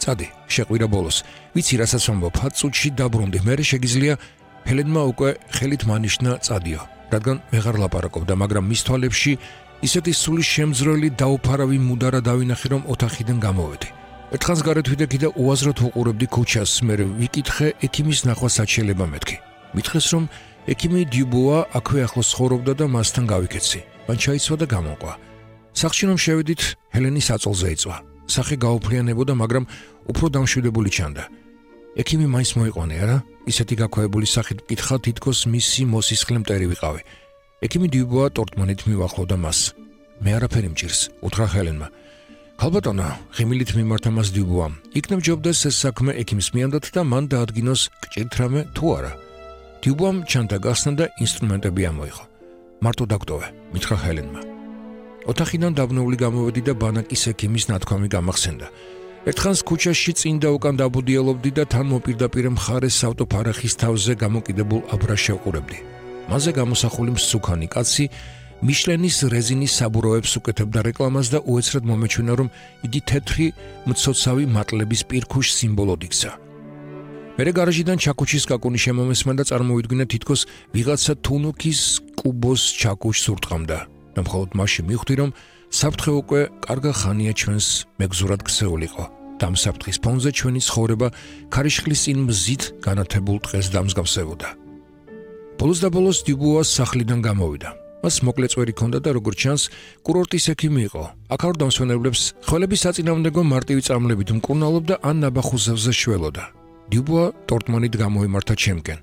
წადი, შეყვირა ბოლოს. ვიცი რასაც ვამბობ, 10 წუთში დაბრუნდი. მერე შეგიძლია ჰელენმა უკვე ხელით მანიშნა წადიო, რადგან ვეღარ ლაპარაკობდა, მაგრამ მის თვალებში ისეთი სული შემძრელი დაუფარავი მუდარა დავინახე, რომ ოთახიდან გამოვედი. ერთხანს გარეთ ვიდექი და უაზროდ ვუყურებდი ქუჩას, მერე ვიკითხე ექიმის ნახვა საჩიელება მეთქი. მითხეს, რომ ექიმი დიუბუა აქვე ახლოს ცხოვრობდა და მასთან გავიქეცი. მან ჩაიცვა და გამოვყვა. სახლში რომ შევედით, ჰელენი საწოლზე იწვა. სახე გაუფრიანებოდა, მაგრამ უფრო დამშვიდებული ჩანდა. ექიმი მაინც მოიყვანე, არა? ისეთი გაქვეებული სახით მკითხა, თითქოს მისი მოსისხლე მტერი ვიყავი. ექიმი დიუბუა ტორტმანით მივახლოვდა მას. მე არაფერი მჭირს, უთხრა ჰელენმა. ქალბატონო, ღიმილით მიმართა მას დიუბუამ. იქნებ ჯობდეს ეს საქმე ექიმს მიანდათ და მან დაადგინოს გჭირთ რამე თუ არა. დიუბუამ ჩანთა გახსნა და ინსტრუმენტები ამოიღო. მარტო დაგტოვე, მითხრა ჰელენმა. ოთახიდან დაბნეული გამოვედი და ბანაკის ექიმის ნათქვამი გამახსენდა. ერთხანს ქუჩაში წინ და უკან დაბუდიელობდი და თან მოპირდაპირე მხარეს ავტოფარახის თავზე გამოკიდებულ აბრას შევყურებდი. მასზე გამოსახული მსუქანი კაცი მიშლენის რეზინის საბურავებს უკეთებდა რეკლამას და უეცრად მომეჩვენა, რომ იგი თეთრი მცოცავი მატლების პირქუშ სიმბოლოდ იქცა. მერე გარაჟიდან ჩაკუჩის კაკუნი შემომესმა და წარმოვიდგინა თითქოს ვიღაცა თუნუქის კუბოს ჩაკუჩს ურტყამდა. და მხოლოდ მაშინ მივხვდი, რომ საფრთხე უკვე კარგა ხანია ჩვენს მეგზურად ქცეულიყო. და ამ საფრთხის ფონზე ჩვენი ცხოვრება ქარიშხლის წინ მზით განათებულ დღეს დამსგავსებოდა. ბოლოს და ბოლოს დიუბუას სახლიდან გამოვიდა. მას მოკლე წვერი ჰქონდა და როგორც ჩანს, კურორტის ექიმი იყო. აქაურ დამსვენებლებს ხელების საწინააღმდეგო მარტივი წამლებით მკურნალობდა ან ნაბახუზებზე შველოდა. დიუბუა ტორტმანით გამოვიმართა ჩემკენ.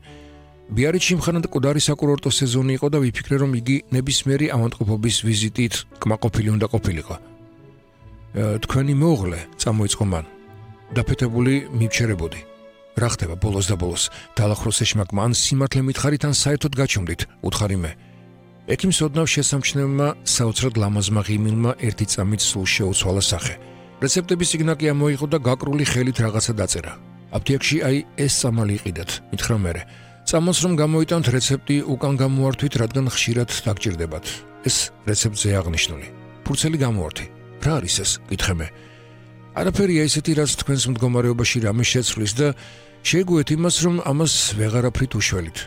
ბიარიჩი მხანად მკვდარი საკურორტო სეზონი იყო და ვიფიქრე, რომ იგი ნებისმიერი ავადმყოფობის ვიზიტით კმაყოფილი უნდა ყოფილიყო. თქვენი მეუღლე, წამოიწყო მან. დაფეთებული მივჩერებოდი. რა ხდება ბოლოს და ბოლოს? დაალახროს ეშმაკმა, ან სიმართლე მითხარით, ან საერთოდ გაჩვენდით, უთხარი მე. ექიმს ოდნავ შესამჩნევმა საოცრად ლამაზმა ღიმილმა ერთი წამით სულ შეუცვალა სახე. რეცეპტების სიგნაკი ამოიღო და გაკრული ხელით რაღაცა დაწერა. აფთიაქში აი ეს წამალი იყიდათ, მითხრა მერე. წამალს რომ გამოიტანთ რეცეპტი უკან გამოართვით, რადგან ხშირად დაგჭირდებათ. ეს რეცეპტზე აღნიშნული. ფურცელი გამოართი. რა არის ეს? გითხე მე. არაფერია ისეთი, რაც თქვენს მდგომარეობაში რამე შეცვლის და შეეგუეთ იმას, რომ ამას ვეღარაფრით უშველით.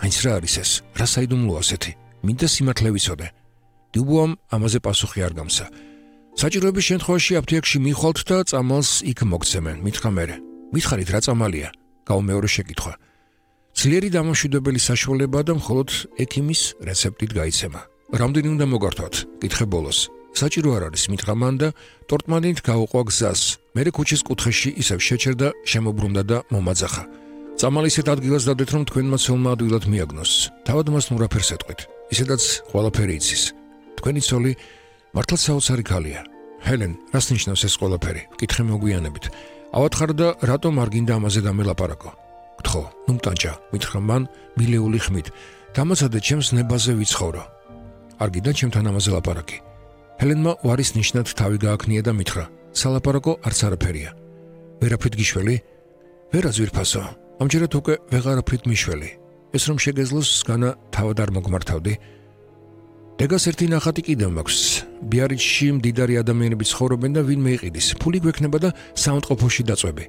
აინც რა არის ეს? რა საიდუმლოა ასეთი? მინდა სიმართლე ვიცოდე. დიუბუამ ამაზე პასუხი არ გამსა. საჭიროების შემთხვევაში აფთიაქში მიხვალთ და წამალს იქ მოგცემენ, მითხრა მერე. მითხარით რა წამალია? გაუმეორე შეკითხვა. ძლიერი დამამშვიდებელი საშუალებაა და მხოლოდ ექიმის რეცეპტით გაიცემა. რამდენი უნდა მოგართვათ? გითხე ბოლოს. საჭირო არ არის, მითხრა მან და ტორტმანით გაუყვა გზას. მერე ქუჩის კუთხეში ისევ შეჩერდა, შემობრუნდა და მომაძახა. წამალი ისეთ ადგილას დადეთ, რომ თქვენმა ცოლმა ადვილად მიაგნოს. თავად მას ნურაფერს ეტყვით. ისედაც ყველაფერი იცის. თქვენი ცოლი მართლაც საოცარი ქალია. ჰელენ, რას ნიშნავს ეს ყველაფერი? კითხე მოგვიანებით. ავათხარ და რატომ არ გინდა ამაზე დამელაპარაკო? გთხოვ, ნუ მტანჭა, მითხრა მან მილეული ხმით. დამაცადე ჩემს ნებაზე ვიცხოვრო. არ გინდა ჩემთან ამაზე ლაპარაკი. ჰელენმა უარის ნიშნად თავი გააქნია და მითხრა, სალაპარაკო არც არაფერია. ვერაფრით გიშველი? ვერა ძვირფასო. ამჯერად უკვე ვეღარაფრით მიშველი. ეს რომ შეგეძლოს განა თავად არ მოგმართავდი. დეგას ერთი ნახატი კიდევ მაქვს. ბიარიჩში მდიდარი ადამიანები ცხოვრობენ და ვინმე იყიდის. ფული გვექნება და საავადმყოფოში დაწვევი.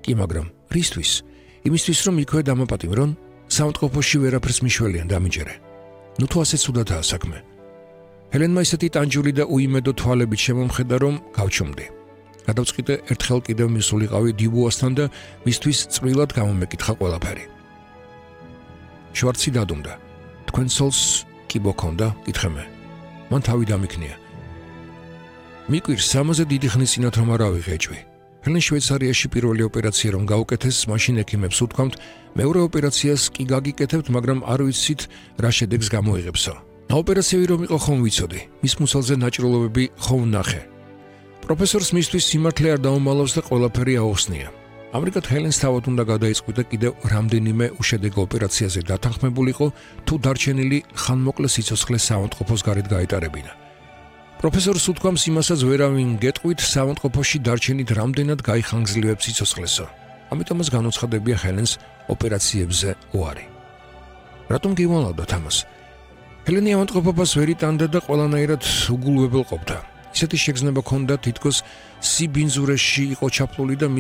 კი, მაგრამ რისთვის? იმისთვის, რომ იქვე დამაპატიმრონ, საავადმყოფოში ვერაფერს მიშველიან დამიჯერე. ნუ თუ ასე ცუდადაა საქმე. ჰელენმა ისეთი ტანჯული და უიმედო თვალებით შემომხედა, რომ გავჩუმდი. გადავწყვიტე ერთხელ კიდევ მისულიყავი დიუბუასთან და მისთვის წვრილად გამომეკითხა ყველაფერი. შვარცი დადუმდა. თქვენ ცოლს კიბო ქონდა? გითხე მე. მან თავი დამიქნია. მიკვირს ამაზე დიდი ხნის წინათ რომ არ ავიღეჭვი. ჰელენ შვეიცარიაში პირველი ოპერაცია რომ გაუკეთეს, მაშინ ექიმებს უთქვამთ, მეორე ოპერაციას კი გაგიკეთებთ, მაგრამ არ ვიცით რა შედეგს გამოიღებსო. ოპერაციები რომ იყო ხომ ვიცოდი, მის მუცელზე ნაჭროლობები ხომ ნახე. პროფესორს მისთვის სიმართლე არ დაუმალავს და ყველაფერი აუხსნია. ამრიგად ჰელენს თავად უნდა გადაიწყვიდა კიდევ რამდენიმე უშედეგო ოპერაციაზე დათანხმებულიყო, თუ დარჩენილი ხანმოკლე სიცოცხლე საავადმყოფოს გარეთ გაეტარებინა. პროფესორს უთქვამს იმასაც ვერავინ გეტყვით, საავადმყოფოში დარჩენით რამდენად გაიხანგრძლივებს სიცოცხლესო. ამიტომაც განუცხადებია ჰელენს ოპერაციებზე უარი. რატომ გივალავდათ ამას? ჰელენი ავადმყოფობას ვერ იტანდა და ყველანაირად უგულვებელყოფდა. ისეთი შეგრძნება ჰქონდა, თითქოს სიბინძურეში იყო ჩაფლული და